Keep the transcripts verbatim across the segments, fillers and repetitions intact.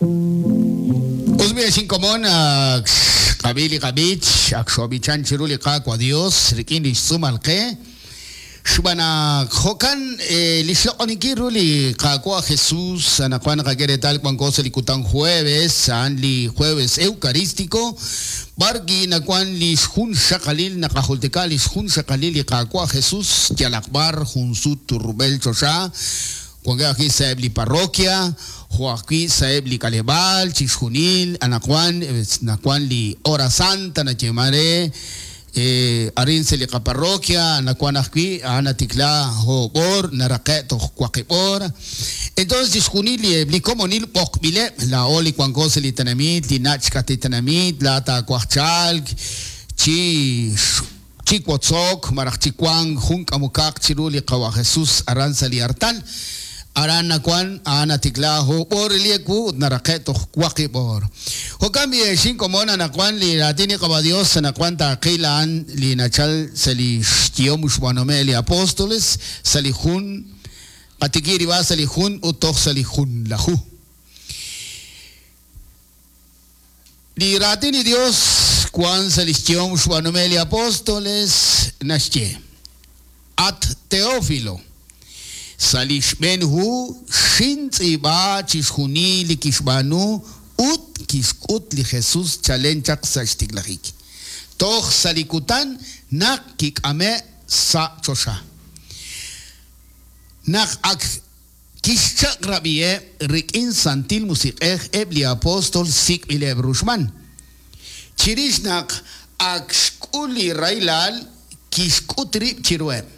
Uzbi xinkomon xqab'i li qab'ich ak xob'ichan chiru li Qaawa' Dios rik'in li xtz'uumal qe xb'aan naq jo'kan li xloq'oninkil ru li Qaawa' Jesús anaqwan naqak'e reetal wanko sa' li kutan jueves a'an li jueves eucarístico b'ar nawan li xjun xaqalil naqajultika li xjun xaqalil li Qaawa' Jesús yalaq b'ar jun sut rub'el choxa wankeb' ajwi' sa'eb' li parroquia jo' ajwi' sa'eb' li k'aleb'aal chi xjunil anaqwan nawan li hora santa nayeeman re arin sa' li qaparroquia nawan ajwi' a'an natikla oob' naraqe' toj waqib' hora. Entonces chi xjunil li li komonil b'oqb'ileb' laa'o li wanko sa' li tenamit li nach' xk'at li tenamit la taawaj chalk chi chi wotzok malaj chi wank jun k'amukaq chiru li Qawa' Jesús aran sa' li artal aran nawan a'an natikla oob' li ewu ut naraqe' toj waqib' hor. Jo'kan b'i xinkomon anaqwan li raatin li Qawa' Dios anaqwan taaqil a'an li nachal sa' li xyehom xb'aanume' li apóstoles sa' li jun qatikib' rib'a sa' li jun ut toj sa' li jun laju. Li raatin li Dios wan sa' li xyehom xb'aanume' li apóstoles naxye At Teófilo sa' li xb'een hu xintz'iib'a chi xjunil li kixb'aanu ut kixk'ut li Jesús chalen chaq sa' xtiklajik toj sa' li kutan naq kik'ame' sa' choxa naq ak kixchaq'rab'iheb' rik'in santil musiq'ej eb' li apóstol sik'b'ileb' ruxman chirix naq ak xk'ul li rahilal kixk'ut rib' chiruheb'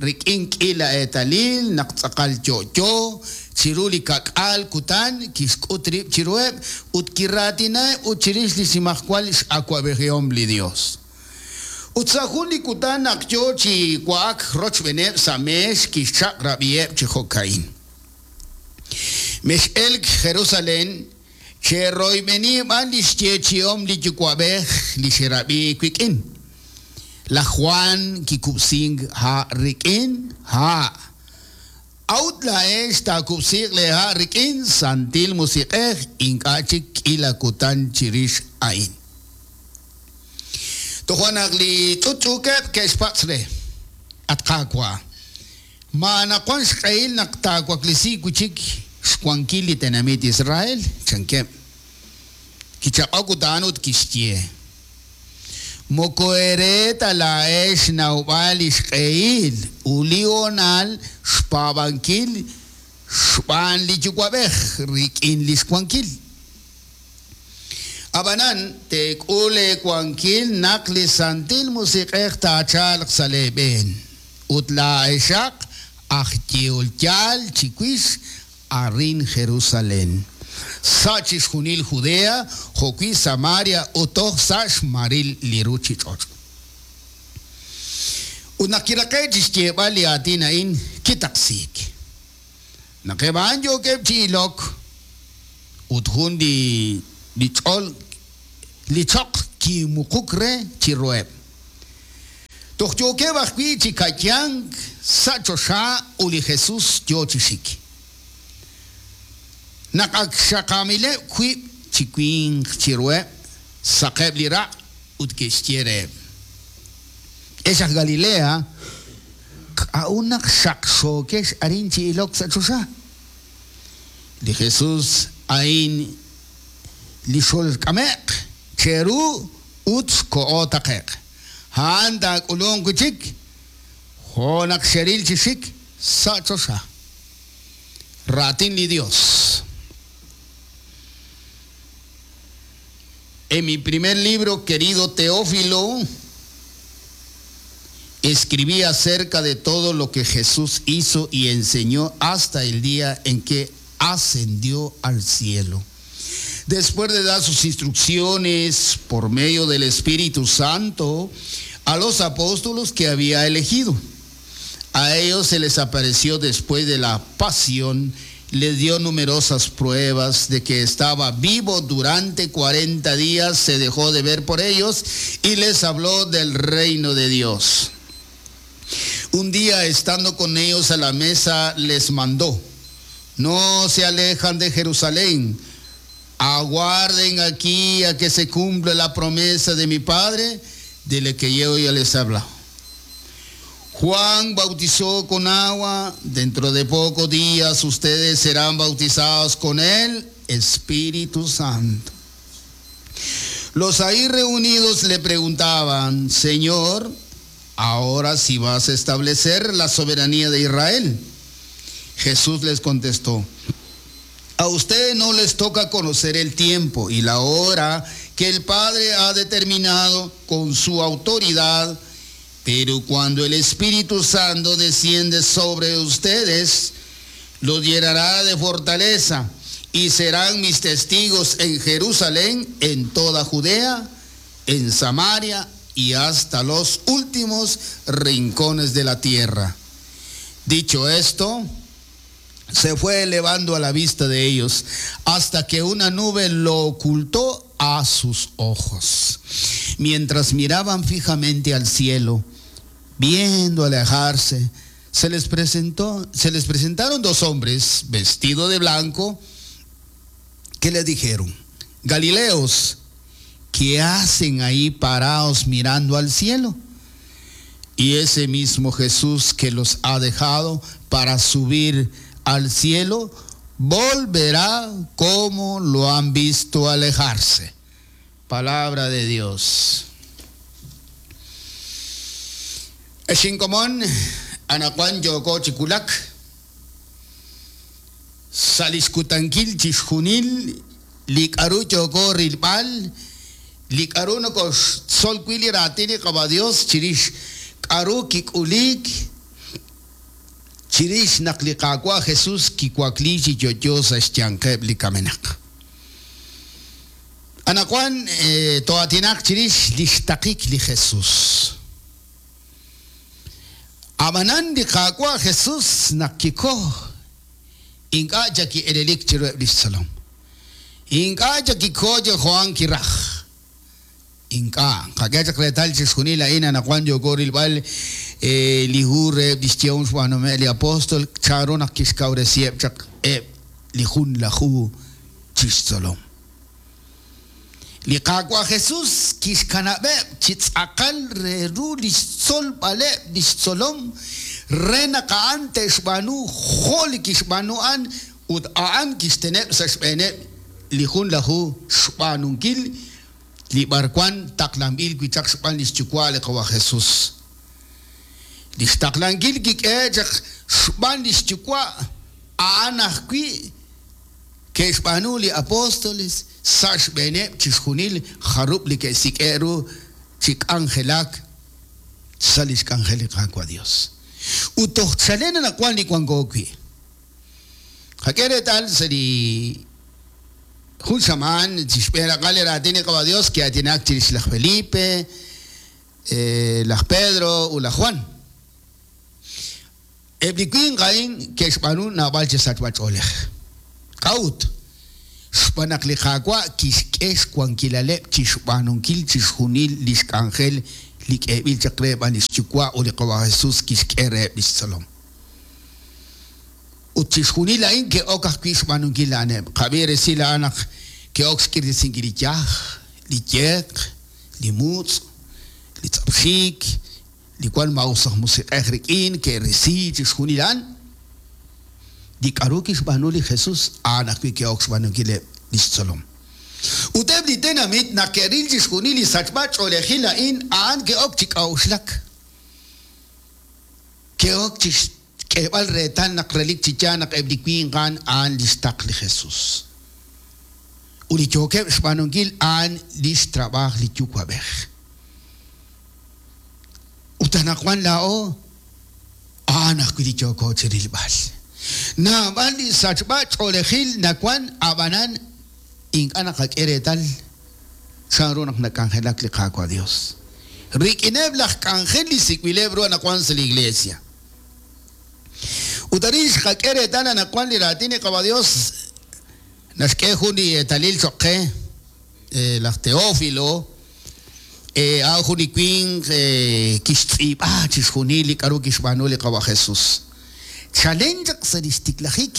rik'in k'ila eetalil naq tz'aqal yo'yo chiru li kak'al kutan kixk'ut rib' chiruheb' ut kiraatinaheb' ut chirix li xnimajwal x'awab'ejihom li Dios. Ut sa' jun li kutan naq yo chi wa'ak rochb'eeneb' sa' meex kixchaq'rab'iheb' chi jo'ka'in. Mex'elk Jerusalén cheroyb'eni b'an li xyeechi'om li Yuwa'b'ej li xerab'i wik'in. Laj Juan kikub'sink ha' rik'in ha'. A'ut laa'ex taakub'siiq lee ha' rik'in santil musiq'ej ink'a' chik k'ila kutan chirix a'in. Toja' naq li ch'utch'uukeb' ke'xpatz' re At Qaawa' ma anaqwan xq'ehil naq taawaklisi wi' chik xwankil li tenamit Israel chankeb'. Kichaq'ok ut a'an ut kixye Moko ere ta laa'ex xnawb'al li xq'ehil ut li hoonal xpaab'ankil xb'aan li Yuwa'b'ej rik'in li xwankil. Ab'anan teek'ul eewankil naq li santil musiq'ej taachalq sa' leeb'een ut laa'exaq aj yehol yaal chiwix arin Jerusalén sa' chi xjunil Judea jo'wi' Samaria ut toj sa' xmaril li ruuchich'och'. Ut naq kiraqe' chi xyeeb'al li aatin a'in kitaqsiik. Naq eb' a'an yookeb' chi ilok ut jun li li ch'ol li choq kimuquk re chiruheb'. Toj yookeb' ajwi' chi ka'yank sa' choxa ut li Jesús yo chi xik. Naq ak xaqamileb' wiib' chi winq chiruheb' saqeb' li raq' ut ke'xye reheb'. Ex aj Galilea k'a'ut naq xaqxookex arin chi ilok sa' choxa. Li Jesús a'in li xolk'ame'q cheru ut xko'o taqe'q. A'an taak'ulunq wi' chik jo' naq xeril chi xik sa' choxa. Raatin li Dios. En mi primer libro, querido Teófilo, escribí acerca de todo lo que Jesús hizo y enseñó hasta el día en que ascendió al cielo. Después de dar sus instrucciones por medio del Espíritu Santo a los apóstoles que había elegido. A ellos se les apareció después de la pasión, les dio numerosas pruebas de que estaba vivo durante cuarenta días, se dejó de ver por ellos y les habló del reino de Dios. Un día, estando con ellos a la mesa, les mandó: no se alejan de Jerusalén, Aguarden aquí a que se cumpla la promesa de mi Padre, de la que yo ya les he hablado. Juan bautizó con agua, dentro de pocos días ustedes serán bautizados con el Espíritu Santo. Los ahí reunidos le preguntaban: Señor, ahora sí vas a establecer la soberanía de Israel. Jesús les contestó: a ustedes no les toca conocer el tiempo y la hora que el Padre ha determinado con su autoridad, pero cuando el Espíritu Santo desciende sobre ustedes, los llenará de fortaleza y serán mis testigos en Jerusalén, en toda Judea, en Samaria y hasta los últimos rincones de la tierra. Dicho esto, se fue elevando a la vista de ellos, hasta que una nube lo ocultó a sus ojos. Mientras miraban fijamente al cielo, viendo alejarse, se les presentó, se les presentaron dos hombres vestidos de blanco, que le dijeron: Galileos, ¿qué hacen ahí parados mirando al cielo? Y ese mismo Jesús que los ha dejado para subir al cielo, volverá como lo han visto alejarse. Palabra de Dios. Exinkomon, anakuan yoko chikulak, saliskutankil chixjunil, likaru yoko rilpal, likaru noko solkuili ratini kaba Dios, chirish karu kikulik, chirish naklikakwa Jesús kikuakli chiyoyosa xtiankeb likamenak. Anakuan eh, toatinak chirish lixtakik li Jesús. Amanan likakwa Jesús nakiko inka jaki elelik chirueb lixsalom. Inka jaki koje Juan kiraj. Inka kakechak retal chixjunil ain anakuan yokoril bal lihure dixtión xwanome li apóstol charo nakixkawresieb chak eb lijun lahu chixtzolom. Liqakwa Jesús kixkanabeb chitzakal reru lixtzol baleb lixtzolom renaqaan texbanu joli kixbanu an ut aan kixteneb saxbeneb lijun lahu xbanunkil libarkuan taklambil kuichak xban lixchukwale qawa Jesús. Lixtaklankil kik'echaq xb'an lixyuwa' a'an ajwi' ke'xb'aanu li apóstoles sa' xb'eeneb' chixjunil jarub' li ke'sik'e' ru chik'anjelak sa' li xk'anjel li Qaawa' Dios. Ut toj chalen anaqwan li wanko wi'. Qak'e reetal sa' li jun xamaan chixb'een li raatin li Qaawa' Dios ki'aatinak chirix laj Felipe, eh, laj Pedro ut laj Juan. Ebli winq a'in ke'xb'aanu naab'al chi sachb'ach'oolej. K'a'ut? Xb'aan naq li Qaawa' kixk'e xwankilaleb' chixb'aanunkil chixjunil li xk'anjel li k'eeb'il chaq re b'an li xyuwa' ut li Qaawa' Jesús kixk'e reheb' li xtzolom. Ut chixjunil a'in ke'ok ajwi' xb'aanunkil a'aneb'. Qab'i resil a'an naq ke'ok xk'irisinkil li yaj, li yeq, li mutz', li tz'apxik, li cual mausaj musiq'ej rik'in ke'risi chixjunil a'an. Li k'aru kixb'aanu li Jesús a'an ajwi' ke'ok xb'aanunkileb' li xtzolom. Ut eb' li tenamit naq ke'ril chixjunil li sachb'ach'oolejil a'in a'an ke'ok chi k'a'uxlak. Ke'ok chi xk'eeb'al reetal naq relik chi yaal naq eb' li winq a'an a'an li xtaq li Jesús. Ut li yookeb' xb'aanunkil a'an li xtrab'aaj li yuwa'b'ej. Ut anaqwan laa'o a'an ajwi' li yooko chi rilb'al. Naab'al li sachb'ach'oolejil nawan ab'anan ink'a' naqak'e reetal chanru naq nak'anjelak li Qaawa' Dios. Rik'ineb' laj k'anjel li sik'bileb' ru anaqwan sa' li iglesia. Ut arin xqak'e reetal anaqwan li raatin li Qaawa' Dios naxk'e jun li eetalil choq' qe laj Teófilo a'an jun li winq kixtz'iib'a chixjunil li k'aru kixb'aanu li Qaawa' Jesús. Chalen chaq sa' li xtiklajik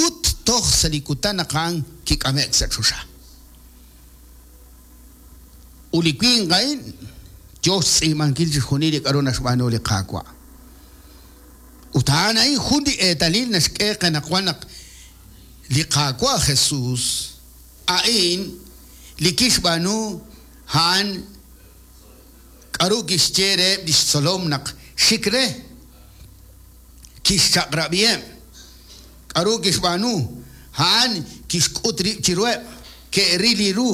ut toj sa' li kutan naq a'an kik'ame'k sa' choxa. Ut li winq a'in yo xtz'iib'ankil chixjunil li k'aru naxb'aanu li Qaawa'. Ut a'an a'in jun li eetalil naxk'e qe anaqwan naq li Qaawa' Jesús a'in li kixb'aanu a'an k'aru kixye reheb' li xtzolom naq xik re kixchaq'rab'iheb'. K'aru kixb'aanu a'an kixk'ut rib' chiruheb', ke'ril li ru,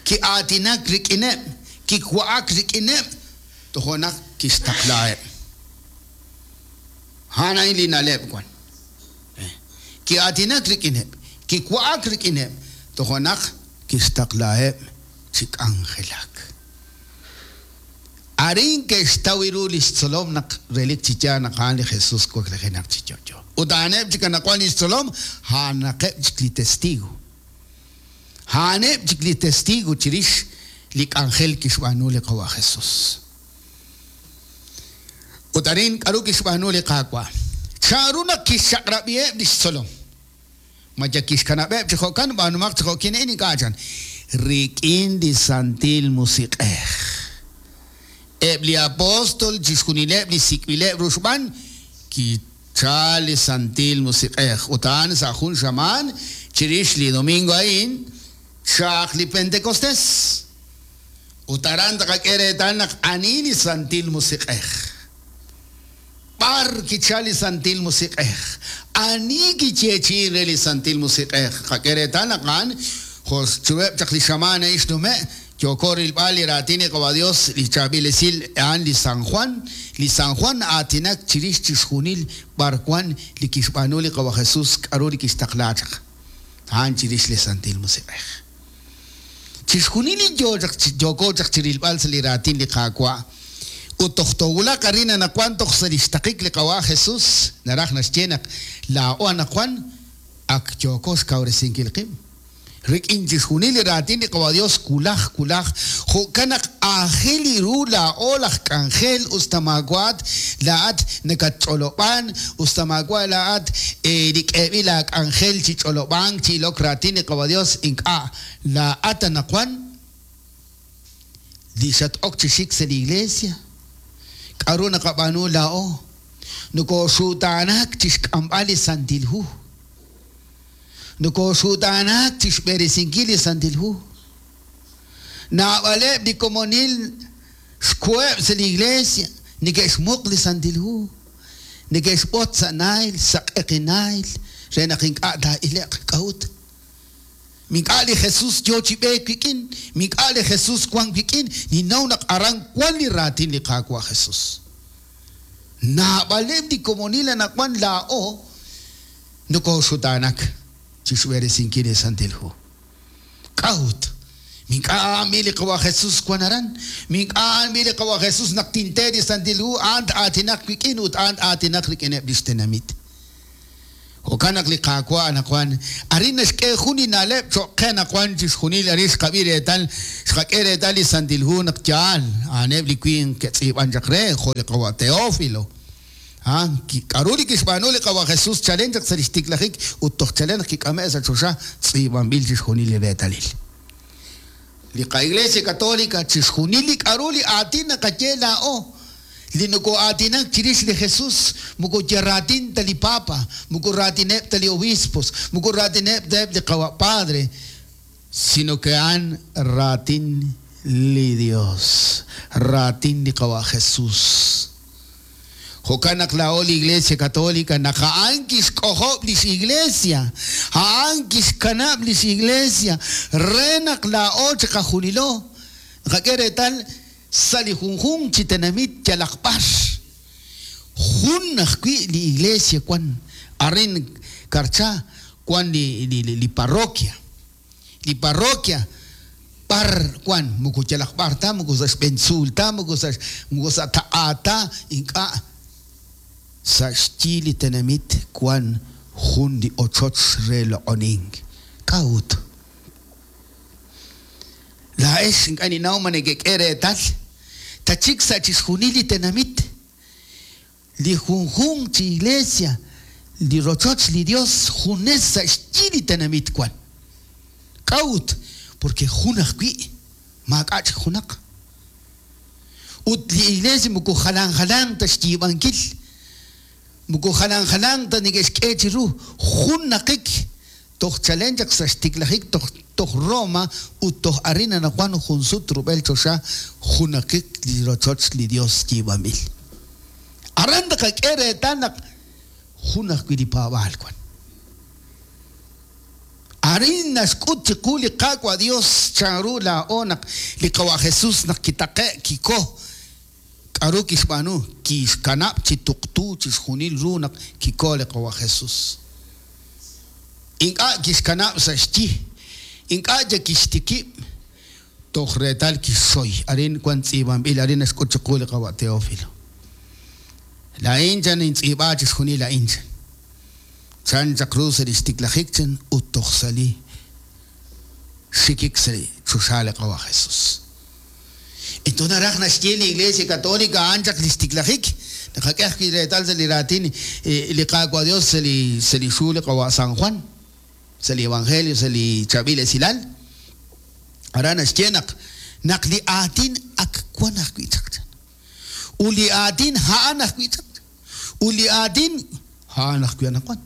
ki'aatinak rik'ineb', kiwa'ak rik'ineb', tojo' naq kixtaqlaheb'. A'an a'in li na'leb' wan. Ki'aatinak rik'ineb', kiwa'ak rik'ineb', tojo' naq kixtaqlaheb' chi k'anjelak. Arin ke'xtaw ru li xtzolom naq relik chi yaal naq a'an li Jesús waklijenaq chi yo'yo. Ut a'aneb' chik anaqwan li xtzolom, a'anaqeb' chik li testigo. A'aneb' chik li testigo chirix li k'anjel kixb'aanu li Qawa' Jesús. Ut arin k'aru kixb'aanu li Qaawa'. Chanru naq kixchaq'rab'iheb' li xtzolom. Ma ya kixkanab'eb' chi jo'kan b'aanumaq chi jo'kin a'in ink'a' chan. Rik'in li Santil Musiq'ej. Eb' li apóstol chixjunileb' li sik'b'ileb' ru xb'aan kichal li Santil Musiq'ej. Ut a'an sa' jun xamaan chirix li domingo a'in chaq li Pentecostés. Ut aran taqak'e reetal naq ani li Santil Musiq'ej. B'ar kichal li Santil Musiq'ej. Ani kiyeechi'in re li Santil Musiq'ej. Qak'e reetal naq a'an jo' chiruheb' chaq li xamaan a'in xnume' yoko rilb'al li raatin li Qawa' Dios li chaab'il esil a'an li San Juan. Li San Juan aatinak chirix chixjunil b'ar wan li kixb'aanu li Qawa' Jesús k'aru li kixtaqla chaq. A'an chirix li Santil Musiq'ej. Chixjunil li yo chaq yoko chaq chirilb'al sa' li raatin li Qaawa'. Ut toj towulaq arin anaqwan toj sa' li xtaqik li Qawa' Jesús naraj naxye naq laa'o anaqwan ak yoko xkawresinkil qib'. Rik'in chixjunil li raatin li Qawa' Dios kulaj kulaj jo'kan naq aajel li ru laa'o laj k'anjel usta maawaat laa'at nakatch'olob'an usta maawa' laa'at li k'eeb'il laak'anjel chi ch'olob'ank chi ilok raatin li Qawa' Dios ink'a' laa'at anaqwan li xat-ok chi xik sa' li iglesia. K'aru naqab'aanu laa'o nokooxutaanak chi xk'amb'al li Santil Hu. Nokooxutaanak chi xb'eresinkil li Santil Hu. Naab'aleb' li komonil xkuheb' sa' li iglesia neke'xmuq li Santil Hu. Neke'xb'ot sa' naayl, sa' q'eqinaayl re naq ink'a' taa'ile'q k'a'ut. Mink'a' li Jesús yo chi b'eek wik'in, mink'a' li Jesús wan wik'in, ninnaw naq aran wan li raatin li Qaawa' Jesús. Naab'aleb' li komonil anaqwan laa'o nokooxutaanak chi xb'eresinkil li Santil Hu. K'a'ut. Mink'a' a'an li Qawa' Jesús wan aran. Mink'a' a'an li Qawa' Jesús naq tinte li Santil Hu a'an aatinaq wik'in ut a'an aatinaq rik'ineb' li xtenamit. Jo'kan naq li Qaawa' anaqwan arin naxk'e jun li na'leb' cho'q qe anaqwan chixjunil arin xqab'i reetal xqak'e reetal li Santil Hu naq yaal a'aneb' li winq ke'tz'iib'an chaq re jo' li Qawa' Teófilo. Ah, k'aru li kixb'aanu li Qawa' Jesús chalen chaq sa' li xtiklajik ut toj chalen naq kik'ame' sa' choxa tz'iib'anb'il chixjunil li reetalil. Li qa-Iglesia Católica chixjunil li k'aru li aatin naqaye laa'o li nokoo'aatinak chirix li Jesús moko ya raatin ta li Papa, moko raatineb' ta li obispos, moko raatineb' ta eb' li Qawa' Padre, sino que a'an raatin li Dios, raatin li Qawa' Jesús. Jo'kan naq laa'o li Iglesia Católica naq a'an kixk'ojob' lix iglesia, a'an kixkanab' lix iglesia re naq laa'o chiqajunilo. Naqak'e reetal sa' li junjunq chi tenamit yalaq b'ar. Jun ajwi' li iglesia wan arin Karcha wan li, li, li, li parroquia. Li parroquia b'ar wan moko yalaq b'ar ta moko sa' xb'een tzuul ta moko sa' moko sa' taq'a ta ink'a' sa' xyi li tenamit wan jun li ochoch re loq'onink. K'a'ut. Laa'ex ink'a' ninnaw ma nekek'e reetal tachik sa' chixjunil li tenamit li junjunq chi iglesia li rochoch li Dios junes sa' xyi li tenamit wan. K'a'ut? Porque jun ajwi' maak'a' chik junaq. Ut li iglesia moko jalan jalan ta xyiib'ankil, moko jalan jalan ta neke'xk'e chiru, jun naqik toj chalen chaq sa' xtiklajik toj toj Roma ut toj arin anaqwan jun sut rub'el choxa junaqik li rochoch li Dios yiib'anb'il. Aran taqak'e reetal naq jun ajwi' li paab'aal wan. Arin naxk'ut chiqu li Qaawa' Dios chanru laa'o naq li Qawa' Jesus naq kitaqe' kiko k'aru kixb'aanu kixkanab' chi tuqtu chixjunil ru naq kiko li Qawa' Jesus. Ink'a' kixkanab' sa' xyi, ink'a' ya kixtikib' toj reetal kixxoy. Arin wan tz'iib'anb'il, arin naxk'ut chiqu li Qawa' Teófilo. Laa'in chan intz'iib'a chixjunil a'in chan. Chan chaq ru sa' li xtiklajik chan ut toj sa' li xikik sa' li choxa li Qawa' Jesus. Entonces naraj naxye li Iglesia Católica a'an chaq li xtiklajik. Naqak'e ajwi' reetal sa' li raatin li Qaawa' Dios sa' li sa' li xhu li Qawa' San Juan, sa' li Evangelio, sa' li chaab'il esilal. Aran naxye naq naq li aatin ak wan ajwi' chaq chan. Ut li aatin a'an ajwi' chaq. Ut li aatin a'an ajwi' anaqwan.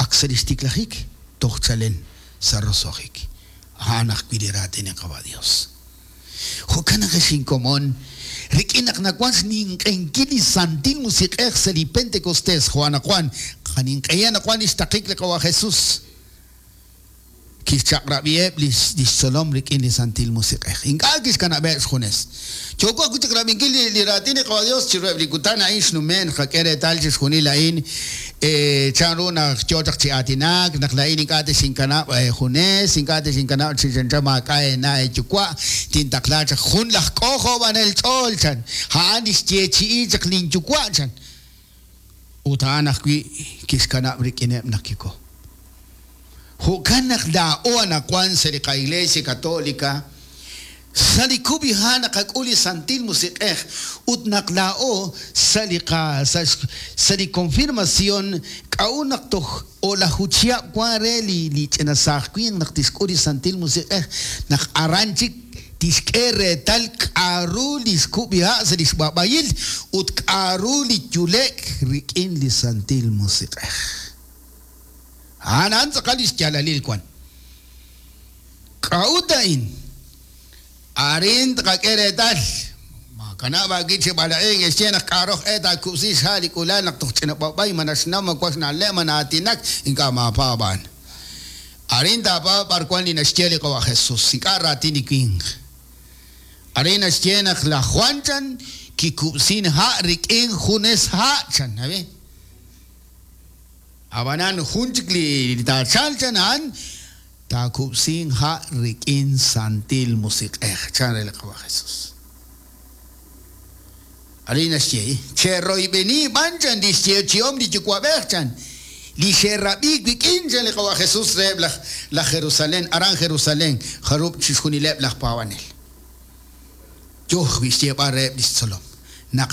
Ak sa' li xtiklajik toj chalen sa' roso'jik. A'an ajwi' li raatin li Qawa' Dios. Jo'kan naq ex inkomon, rik'in naq nawan xninq'enkil li Santil Musiq'ej sa' li Pentecostés, jo' anaqwan, qaninq'ehi anaqwan li xtaqik li Qawa' Jesus. Kixchaq'rab'iheb' li xtzolom rik'in li Santil Musiq'ej. Ink'a' kixkanab'eb' xjunes. Yooko ajwi' chaq'rab'inkil li, li raatin li Qawa' Dios chiruheb' li kutan a'in xnume' naqak'e reetal chixjunil a'in, chanru naq yo chaq chi aatinak, naq laa'in ink'a' texinkanab' junes, ink'a' texinkanab' chi chanchan maak'a' eena' eeyuwa', tintaqla chaq jun laj k'ojob'anel ch'ool chan. A'an li xyeechi'i chaq linyuwa' chan. Ut a'an ajwi' kixkanab' rik'ineb' naq kiko. Jo'kan naq laa'o anaqwan sa' li qa-Iglesia Católica, sa' li kub'iha' naqak'ul li Santil Musiq'ej ut naq laa'o sa' li qa sa' sa' li confirmación k'a'u naq toj o'laju chihab' wan re li li ch'ina saaj winq naq tixk'ul li Santil Musiq'ej, naq aran chik tixk'e reetal k'a'ru li xkub'iha' sa' li xb'ab'ayil ut k'a'ru li yulek rik'in li Santil Musiq'ej. A'an a'an tz'aqal li xyaalalil wan. K'a'ut a'in? Arin taqak'e reetal. Makanab' aawib' chi b'alaq'ink, exye naq k'a'roj e taakub'si xha' li k'ulal naq toj ch'ina b'ab'ay ma naxnaw ma wan xna'leb' ma na'aatinak, ink'a' maapaab' a'an. Arin taapaab' b'ar wan li naxye li Qawa' Jesus, ink'a' raatin li winq. Arin naxye naq laj Juan chan kikub'sin ha' rik'in junes ha' chan, ¿abe? Ab'anan jun chik li taachal chan a'an taakub'sin ha' rik'in Santil Musiq'ej chan re li Qawa' Jesus. Arin naxye, cheroyb'eni b'an chan li xyeechi'om li Yuwa'b'ej chan, li xerab'i wik'in chan li Qawa' Jesus reheb' laj laj Jerusalén, aran Jerusalén, jarub' chixjunileb' laj paab'anel. Yoj wi xyeeb'al reheb' li xtzolom. Naq